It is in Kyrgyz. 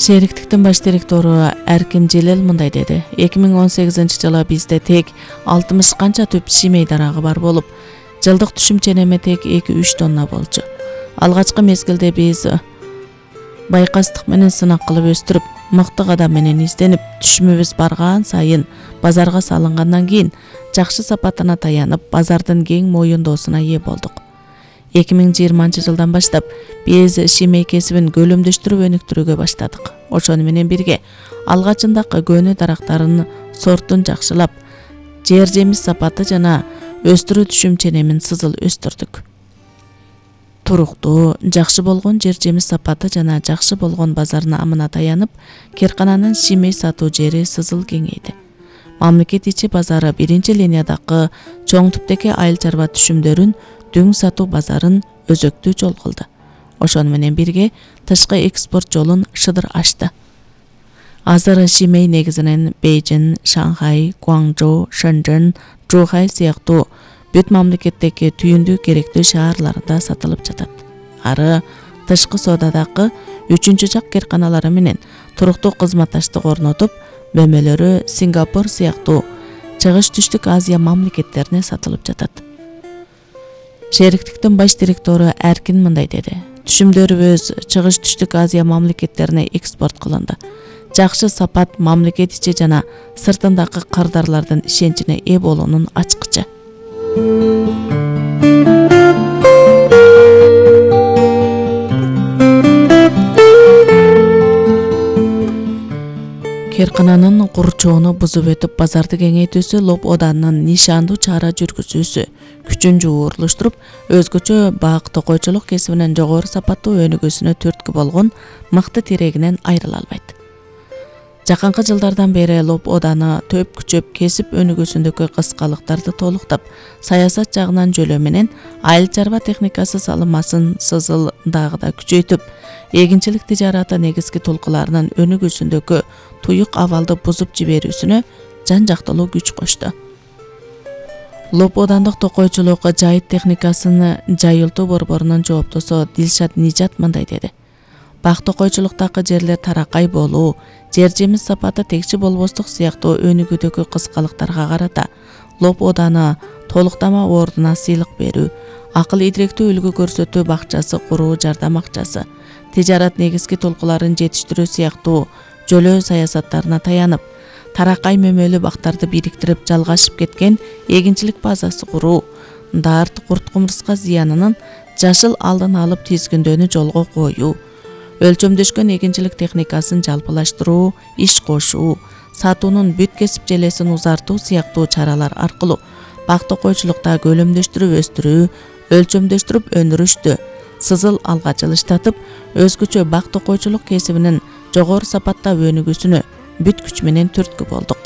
Шериктиктин баш директору Эркин Желел мындай деди. 2018-жылы бизде тек 60 канча түп шимей дарагы бар болуп, жылдык түшүм ченеми тек 2-3 тонна болчу. Алгачкы мезгилде биз байкастык менен сынак кылып өстүрүп, мыкты кадам менен изденип, түшүмүбүз барган сайын базарга салынгандан кийин жакшы сапатына таянып, базардын кең моюндоосуна ээ болдук. 2020-жылдан баштап биз шимей кесибин көлөмдөштүрүп өнүктүрүүгө баштадык. Ошону менен бирге алгачындагы көнү дарактарын сортун жакшылап, жер жемиш сапаты жана өстүрүү түшүм ченемин сызыл өстүрдүк. Туруктуу, жакшы болгон жер жемиш сапаты жана жакшы болгон базар наамына таянып, Керкананын шимей сатуу жери сызыл кеңейди. Мамлекет ичи базары биринчи линиядагы чоң түптеги айыл чарба түшүмдөрүн дүң сатуу базарын өзөктүү жол кылды. Ошону менен бирге тышкы экспорт жолун шыдыр ачты. Азыр шимей негизинен Бейжин, Шанхай, Гуанчжоу, Шэньчжэн, Чжухай сыяктуу бүт мамлекеттеги түйүндүү керектүү шаарларында сатылып жатат. Ары тышкы соодадагы 3-чү жак керканалары менен туруктуу кызматташтык орнотуп, бөлмөлөрү Сингапур сыяктуу чыгыш түштүк Азия мамлекеттерине сатылып жатат. Шериктиктин баш директору Эркин мындай деди. Түшүмдөрүбүз чыгыш түштүк Азия мамлекеттерине экспорт кылынды. Жакшы сапат мамлекет ичи жана сыртындагы кардарлардын ишеничине ээ болуунун ачкычы. Керкананын курчоону бузуп өтүп базарды кеңейтүүсү Лоб Оданынын нишандуу чара жүргүзүүсү күчүн жуурулуштуруп, өзгөчө бак токойчулук кесибинен жогору сапаттуу өнүгүүсүнө түрткү болгон мыкты тирегинен айрыла албайт. Жакынкы жылдардан бери Лоб Оданы төп күчөп кесип өнүгүүсүндөгү кыскалыктарды толуктап, саясат жагынан жөлөө менен айыл чарба техникасы салымасын сызыл дагы күчөйтүп, эгинчилик тижараты негизги толкуларынын өнүгүүсүндөгү туюк абалды бузуп жиберүүсүнө жан жактылуу күч кошту. Лоб Одандык токойчулук жайыт техникасын жайылтуу борборунун жооптосу Дилшат Нижат мындай деди. Бак токойчулуктагы жерлер таракай болуу, жер жемиш сапаты текчи болбостук сыяктуу өнүгүүдөгү кыскалыктарга карата Лоб Оданы толуктама ордуна сыйлык берүү, акыл идиректүү үлгү көрсөтүү бакчасы куруу жардам акчасы, тижарат негизги толкуларын жетиштирүү сыяктуу жөлөө саясаттарына таянып, таракай мөмөлүү бактарды бириктирип жалгашып кеткен эгинчилик базасы куруу, дарт, курт кумурска зыянынын жашыл алдын алып тизгиндөөнү жолго коюу, өлчөмдөшкөн эгинчилик техникасын жалпылаштыруу, иш кошуу, сатуунун бүт кесип желесин узартуу сыяктуу чаралар аркылуу бак токойчулукта көлөмдөштүрүп өстүрүү, өлчөмдөштүрүп өндүрүштү сызыл алга жылыштатып, өзгөчө бак токойчулук кесибинин жогору сапатта өнүгүүсүнө бүт күч менен түрткү болдук.